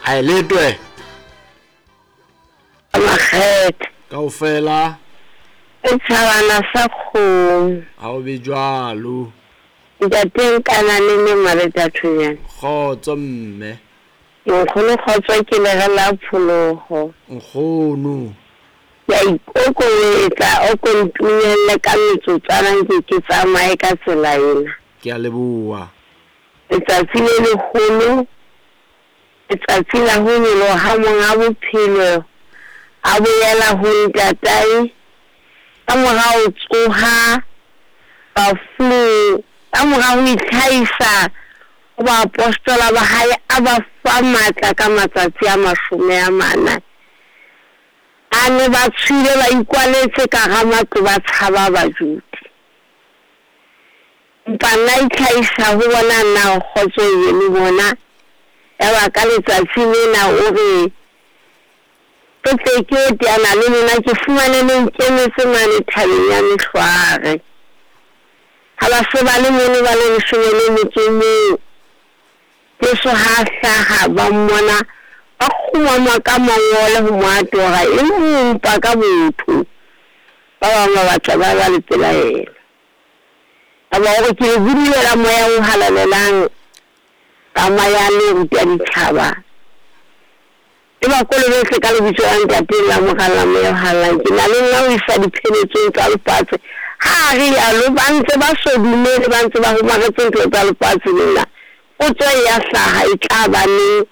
A letwe. Makgethe. Kaofela. Setjhabana sa kgomo. Ha o be jwalo. Ntate Nkanane le Mareta Thonyane. Kgotso mme. Nkgono kgotso ke lere la pholoho. Nkgono. Ke a ikokobetsa o ko ntumelle ka metsotswana nke ke tsamaye ka tsela ena. Ke a leboha. Letsatsi le leholo, letsatsi la ho nyoloha ha Monga Bophelo a boela ho Ntatae, ka mora ho tsoha bafung, ka mora ho itlhahisa ho baapostola ba hae, a ba fa matla ka matsatsi a 40. A ne ba tshohile ba ikwaletse ka hara matlo ba tshaba Bajuda. Empa nna itlhahisa ho bona na kgotso e be le bona. Yaba ka letsatsi lena o re, Ke tle ke yo teana le lona, ke fumane le nkemetse mane thabeng ya Mehlwaare. Ha ba se ba le mono ba le 18, Jesu ha a hlaha, ba mmona, ba kgumama ka mangole ho mo atora, e mpa ka botho. Ba bang ba batla ba ba le pelaelo. Yaba o re, Ke le budulela Moya o Halalelang, tsamayang le ruta ditjhaba. Le ba kolobetse ka lebitso la Ntate, la Mora, la Moya o Halalelang. Ke na le nna ho isa dipheletsong tsa lefatshe. Ha a rialo, ba ntse ba so dumele, ba ntse ba homaretse ntho tsa lefatshe lena. Potso e ya hlaha, e tla ba neng?